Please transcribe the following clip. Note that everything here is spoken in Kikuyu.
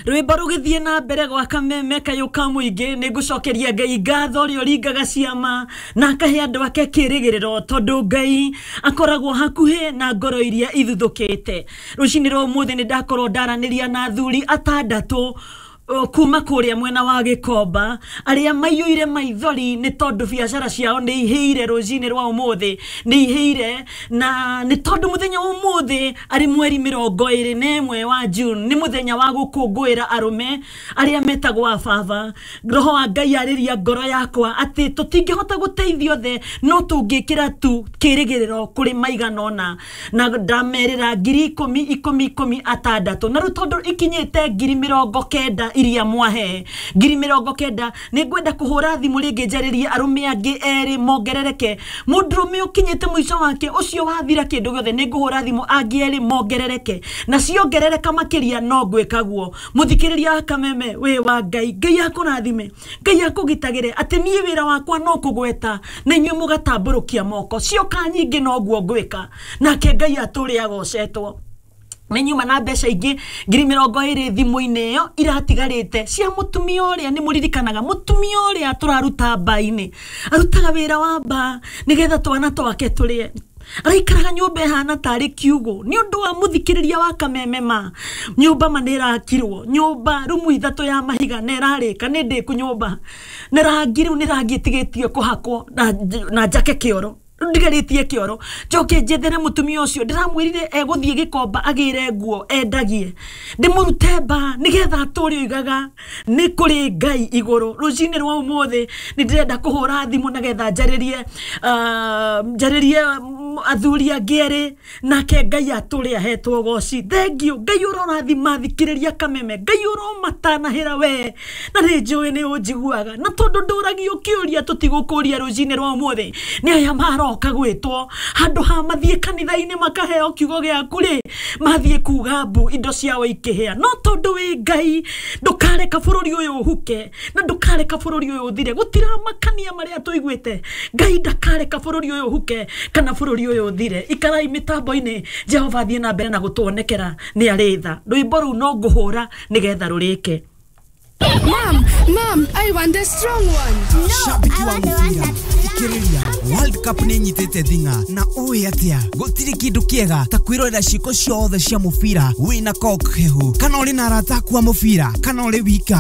Rwĩmbo rũgĩthiĩ na mbere gwa Kameme kayũ ka mũingĩ, nĩ ngũcokeria Ngai ngatho ũrĩa ũringaga ciama na akahe andũ ake kĩrĩgĩrĩro, tondũ Ngai akoragwo hakuhĩ na ngoro iria ithuthũkĩte. Rũcinĩ rwa ũmũthĩ nĩ ndakorwo ndaranĩria na athuri atandatũ kuma kũrĩa mwena wa Gĩkomba, arĩa maiyũire maithori nĩ tondũ biacara ciao nĩ ihĩire. Rũcinĩ rwa ũmũthĩ nĩ ihĩire, na nĩ tondũ mũthenya wa ũmũthĩ arĩ mweri 21 wa June nĩ mũthenya wa gũkũngũĩra arũme arĩa metagwo ababa. Roho wa Ngai arĩria ngoro yakwa atĩ tũtingĩhota gũteithia othe, no tũngĩkĩra tu kĩrĩgĩrĩro kũrĩ maigana ũna, na ndamerĩra 10,000 10 10 6, na rĩu tondũ ikinyĩte 90,000 iria mwahe, 90,000, nĩ ngwenda kũhũra thimũ rĩngĩ njarĩrie arũme angĩ erĩ mongerereke. Mũndũrũme ũkinyĩte mũico wake ũcio wathira kĩndũ gĩothe, nĩ ngũhũra thimũ angĩ erĩ mongerereke, na ciongerereka makĩria no ngwĩka guo. Mũthikĩrĩria wa Kameme wĩ wa Ngai, Ngai akũrathime, Ngai akũgitagĩre, atĩ niĩ wĩra wakwa no kũgweta na inyuĩ mũgatambũrũkia moko. Cioka nyingĩ noguo ngwĩka, nake Ngai atũrĩ agocetwo. Nĩ nyuma na mbeca ingĩ 20,000 thimũ-inĩ ĩyo iratigarĩte cia mũtumia ũrĩa. Nĩ mũririkanaga mũtumia ũrĩa tũraruta mba-inĩ, arutaga wĩra wa mba nĩgetha twana twake tũrĩe, araikaraga nyũmba ĩhana tarĩ kiugũ. Nĩ ũndũ wa mũthikĩrĩria wa Kameme, ma nyũmba ma nĩ ĩrakirwo, nyũmba rumu ithatũ ya mahiga na ĩrarĩka, nĩ ndĩku nyũmba na rangi, rĩu nĩ rangi ĩtigĩtie kũhakwo na njake kĩoro, ndigarĩtie kĩoro, njoke njethere mũtumia ũcio ndĩramwĩrire egũthiĩ Gĩkomba agĩre nguo endagie, ndĩmũrute mba nĩgetha atũre oigaga nĩ kũrĩ Ngai igũrũ. Rũcinĩ rwa ũmũthĩ nĩ ndĩrenda kũhũra thimũ nĩgetha njarĩrie athuri angĩ erĩ, nake Ngai atũre ahetwo goci. Thengiũ Ngai ũrorathima thikĩrĩria Kameme, Ngai ũromatanahĩra we, na nĩ njũĩ nĩ ũnjiguaga, na tondũ ndũragio kĩũria tũtigũkũria rũcinĩ rwa ũmũthĩ, nĩ aya maroka gwĩtwo handũ ha mathiĩ kanitha-inĩ makaheo kiugo gĩaku rĩ, mathiĩ kuga mbu indo ciao ikĩhĩa. No tondũ wĩ Ngai, ndũkareka bũrũri ũyũ ũhuke na ndũkareka bũrũri ũyũ ũthire. Gũtiramakania marĩa tũiguĩte, Ngai ndakareka bũrũri ũyũ ũhuke kana bũrũri ũyũ ũthire. Ikarai mĩtambo-inĩ, Jehova athiĩ na mbere na gũtuonekera nĩ arĩ tha. Rwĩmbo rũu no ngũhũra nĩgetha rũrĩke. Mom, Mom, I want the strong one. Shabiki wa mũbira, thikĩrĩria, World Cup nĩ ĩnyitĩte thing'a, na ũĩ atĩa gũtirĩ kĩndũ kĩega ta kwĩrorera ciĩko ciothe cia mũbira wĩna Coke hehu, kana ũrĩ na arata aku a mũbira, kana ũrĩ wika.